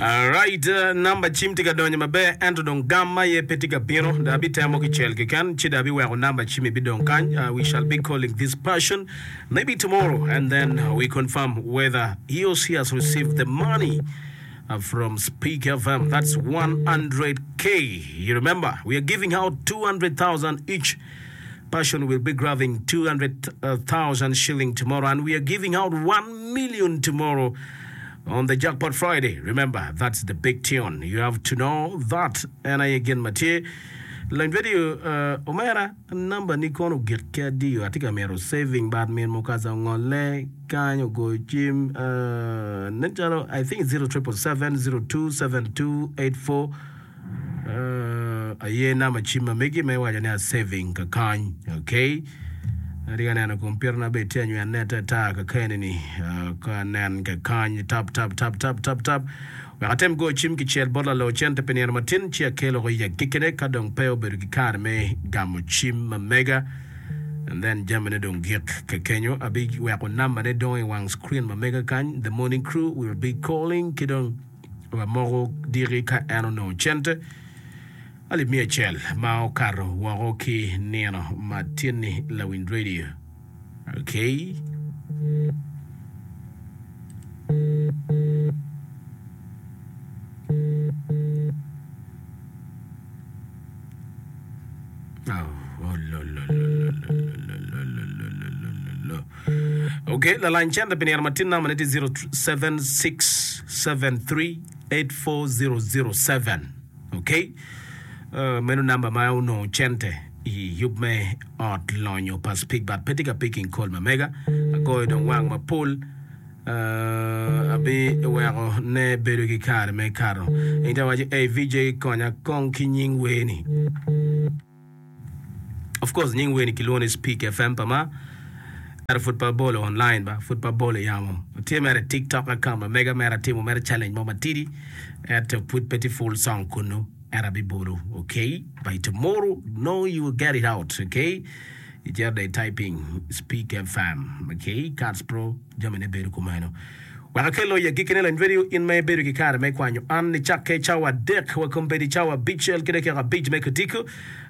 Alright, namba cim tye ka donyo maber ento dong gam aye pe tye ka bino. Dong abitemo kicel keken ci dong abiweko namba cim ibidong kany. Uh, we shall be calling this person maybe tomorrow and then we confirm whether he or she has received the money uh, from Speak FM. That's 100k. You remember, we are giving out 200,000 each person will be grabbing 200,000 shilling tomorrow and we are giving out 1 million tomorrow on the Jackpot Friday. Remember, that's the big tune. You have to know that. En aye gin ma tye. Lony radio, uh, omera, namba ni kono ogik ki adiyo. Atye ka mito saving but min mukaza ongolle kany ogoyo cim. Uh, nen calo, I think 0777 0272 84 Aye namba cim ma megi ma iwaco ni a saving kakany ok atye ka neno kompiuta na bene tye anywene ata ata kakene ni ka anen kakany tap tap tap tap tap tap wek atem goyo cim kicel bot lalor cente pi nino matin ci akelo woko i agikkine ka dong pe obedo ki kare me gamo cim ma mega and then jamine dong gik kakenyo abiweko namba ne dong i wang screen ma mega kany the morning crew will be calling ki dong Wamoko diki ka en onongo cente alip miya acel ma okato woko ki nino ma tye-ni lawiny radio. Okay. Ok, lalany cente pi nino matin namba ne tye 0767384007. Ok, uh, meno namba ma onongo cente i yub me ot lonyo pa Speak but pe tye ka picking call ma mega. Agoyo dong wang mapol. Uh, abiweko ne bedo ki kare me kato. Inta waco, hey VJ konya kong ki nying wer-ni. Of course nying wer ni kilwongo ni Speak FM pa ma ento pud pe abolo online ba pud pe abolo i yamo tye mere i tiktok account ma mega mere atimo mere challenge mo matidi ento pud pe tye full song kunu ento abibolo okay by tomorrow no you will get it out okay icito dong i typing Speak FM okay Cats Pro Jamine bedo kumeno. Wek akel i agikkine lony radio in ma ibedo ki kare me kwanyo an nicakke cawa adek wa kombeddi cawa abicel ki dakika abic me kutiko.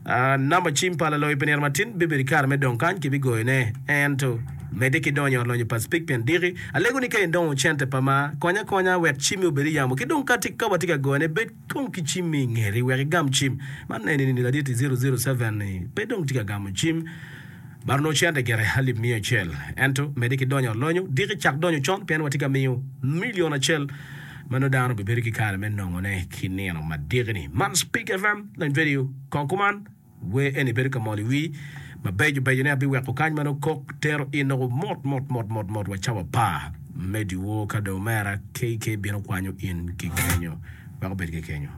Namba cim pa laloyo pi nino matin bibedo i kare me dong kany kibigoyone. Ento medde ki donyo i ot lonyo pa Speke pien diki. Alego ni ka indongo cente pa ma, konya akonya wek cimmi obed i yamo ki dong ka watye ka goyone bed kong ki cimmi i ngeti wek igam cim. Man eni ni ladit 007 ni pe dong tye ka gamo cim. Bar onongo cente gire alip miya acel. Ento, medde ki donyo alonyo. Diki cak donyo con pien watye ka miyo milion acel ma nongo dano bibedo ki kare me nongone ki nino ma diki-ni. Man Speak FM, Lony Radio, Kong kuman, wer eni bedo ka mol i wii. Mabeco becone abiweko kany ma nongo kok tero in nongo mot mot mot mot mot wa cawa apar me dyewor ka dong omera KK bino kwanyo in ki kenyo. Wek obed ki kenyo.